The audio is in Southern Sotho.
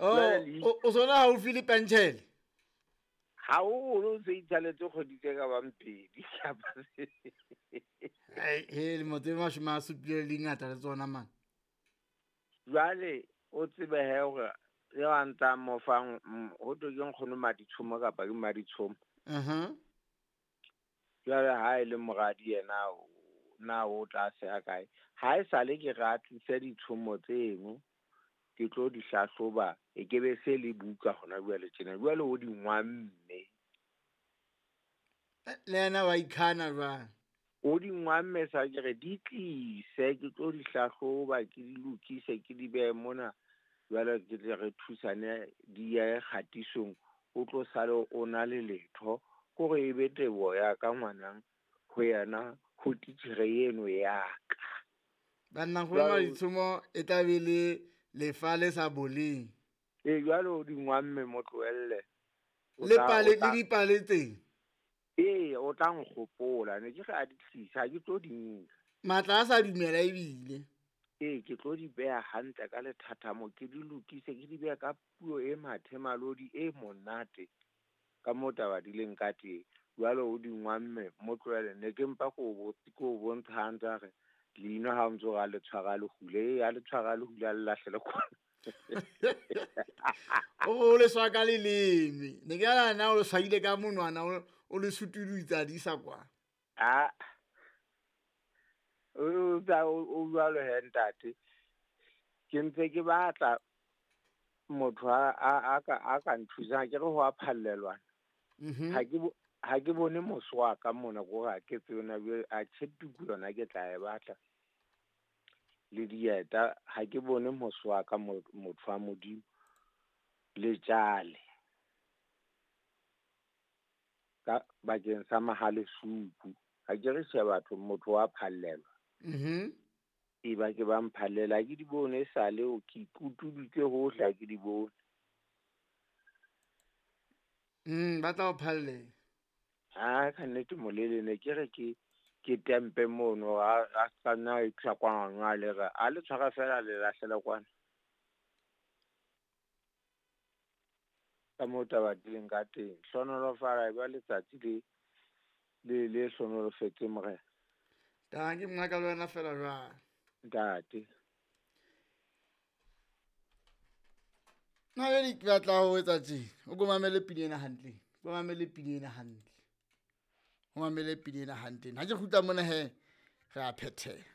Oh, o sona haufi le pentšhele? Haholo, o se itsaletse kgwedi tse ka bang pedi kapa he lemo tse 70 le dingata le tsona man. Jwale o tsebe he hore eo a ntsa mo fang ho thwe ke nkgono Maditshomo kapa ke Maditshomo. Jwale ha e le moradi yena na o tla seha kae? Ha e sale ke re a tlise ditshomo tseno, ke tlo di hlahloba, e ke be se le buka hona jwale tjena. Jwale o di ngwamme. Le yena wa ikhana jwang? O di ngwamme sa ke re di tlise, ke tlo di hlahloba, ke di lokise, ke di behe mona. Jwale ke tle re thusane di ye kgatisong, o tlo sale o na le letho. Kore e be teboho ya ka ngwanang ho yena, ho titjhere eno ya ka. Banna go Maditshomo e tla be le lefa le sa boleng. E jwale o di ngwamme mo tlohelle. Le pale le dipale teng. Ee, o tla nkgopola, ne ke re a di tlise, ha ke tlo di nka. Matla a sa dumela ebile. Ee, ke tlo di beha hantle ka lethathamo, ke di lokise, ke di beha ka puo e mathemalodi e monate ka moo taba di leng ka teng. Jwale o di ngwamme mo tlohele, ne ke mpa ko o bontsha hantle a re leino ha o ntso re a le tshwara le hule, a le tshwara le hule a le lahlele kwana. O le swa ka leleme. Ne ke nahana na o le swaile ka monwana, o le sutudutsa di isa kwa. Ah. O jwalo he ntate. Ke ntse ke batla motho a ka nthusang, ke re ho a phallelwana. Ha ke bone moso wa ka mona, ko re ha ke tsebe na jwale, a tjhetuku yona ke tla e batla. Le dieta, ha ke bone moso wa ka motho wa Modimo. Le tjale. Ka bakeng sa mahale supu. Ha ke re tjhe batho, motho wa phallelwa. E ba ke ba mphallela, ha ke di bone e sale, ke ikutuditse hohle, ha ke di bone. Ba tla o phallela. Ha ka nnete molele ne ke re ke tempe mono, a sa nna a isa kwana, a le re, a le tshwara fela le lahlela kwana. Ka moo taba di leng ka teng. Hlohonolofala e ba letsatsi le hlohonolofetse morena. Tanki mngaka le wena fela jwang? Ntate. Nna jwale ke batla ho etsa tje, o ko mamele pina ena hantle. O mamele pina ena hantle. O mamele pina ena hantle. Ha ke kgutla mona he, re a phethela.